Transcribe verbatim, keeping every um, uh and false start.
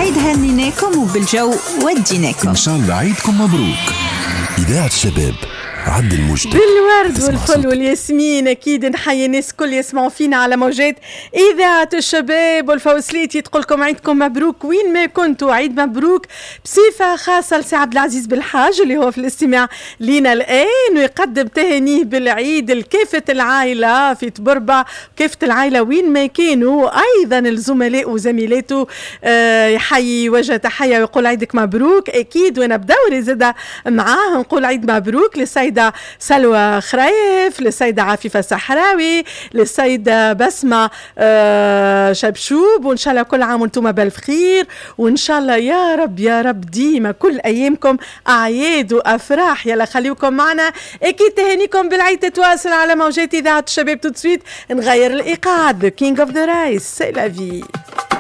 بالعيد هنيناكم وبالجو وديناكم. إن شاء الله عيدكم مبروك. إذاعة الشباب عدل موجتك بالورد والفل والياسمين. اكيد نحيي الناس كل يسمعوا فينا على موجات اذاعة الشباب والفوسليتي، تقول لكم عيدكم مبروك وين ما كنتوا، عيد مبروك بصفة خاصة لسي عبد العزيز بالحاج اللي هو في الاستماع لينا الان ويقدم تهانيه بالعيد لكافة العائلة في طبربه، كافة العائلة وين ما كانوا، ايضا الزملاء وزميلاته آه، يحيي وجه تحية ويقول عيدك مبروك. اكيد وانا بدوري زاده معاه نقول عيد مبروك للسيدة سلوى خريف، للسيدة عفيفة الصحراوي، للسيدة بسمة آه، شبشوب، وإن شاء الله كل عام وانتم بالف خير، وإن شاء الله يا رب يا رب ديما كل أيامكم أعياد وأفراح. يلا خليكم معنا، أكيد تهانيكم بالعيد تتواصل على موجات إذاعة الشباب. tout de suite نغير الإيقاع، The King of the Raï، c'est la vie.